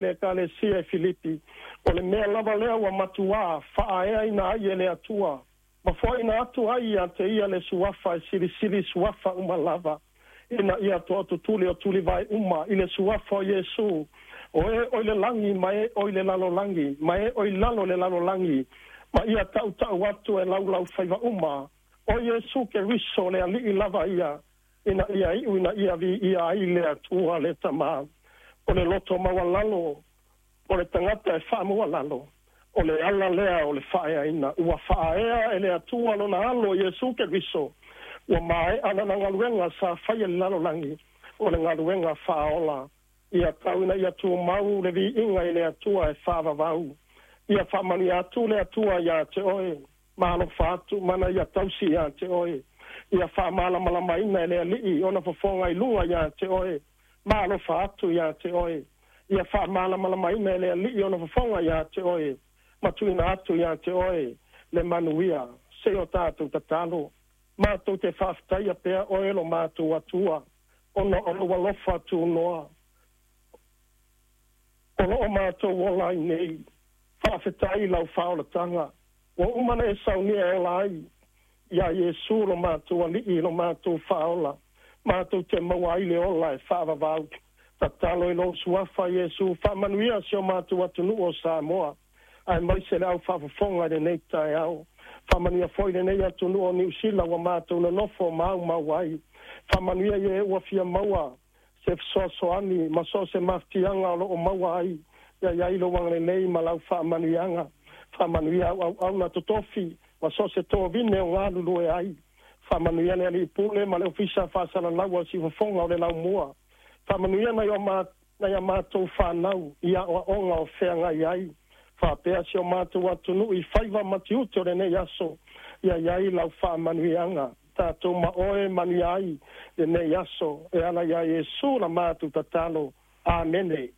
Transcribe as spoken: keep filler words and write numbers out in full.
Le Ekalesia e Filipi, o le mea lava lea ua matuā faaeaina ai e le Atua ma foaina atu ai ia te ia le suafa e silisili suafa uma lava, ina ia toatutuli o tulivae uma i le suafa o Iesu, o e o i le lagi ma e o i le lalolagi ma e o i lalo o le lalolagi, ma ia tautau atu e laulaufaiva uma, o Iesu Keriso le Alii lava ia, ina ia iu ina ia viia ai le Atua le Tamā. O le loto maualalo o le tagata e faamaualalo, o le ala lea o le faaeaina. Ua faaea e le Atua lona alo Iesu Keriso, ua maea lana galuega sa faia i le lalolagi, o le galuega faaola. Ia tau ina ia tumau le viiga i le Atua e faavavau. Ia faamanuia atu le Atua iā te oe, ma alofa atu mana ia tausi iā te oe. Ia faamalamalamaina e le Alii ona fofoga i luga iā te oe, ma alofa atu iā te oe. Ia faamalamalamaina e le Alii ona fofoga iā te oe, ma tuuina atu iā te oe le manuia. Se i o tatou tatalo. Matou te faafetaia pea oe lo matou Atua, ona o lou alofa tunoa o loo matou ola ai nei. Faafetai i lau faaolataga ua uma ona e saunia e ola ai iā Iesu lo matou Alii lo matou Faaola, matou te maua ai le ola e faavavau. Tatalo i lou suafa Iesu, faamanuia si o matou atunuu o Samoa, aemaise le au faafofoga i lenei taeao. Faamanuia foi lenei atunuu o Niusila ua matou nonofo ma aumau ai. Faamanuia i e ua fia maua se fesoasoani ma so o se mafatiaga o loo maua ai, ia i ai lou agalelei ma lau faamanuiaga. Faamanuia au auauna totofi ma so o se tovine o galulue ai. Faamanuia le alii pule ma le ofisa faasalalaua o siufofoga o le laumua. Faamanuia nai o ma nai a matou fanau i aoaoga o feagai ai, faapea si o matou atunuu i faiva ma tiute o lenei aso. Ia i ai lau faamanuiaga, tatou ma oe manuia ai lenei aso, e ala iā Iesu la matou tatalo. Amene.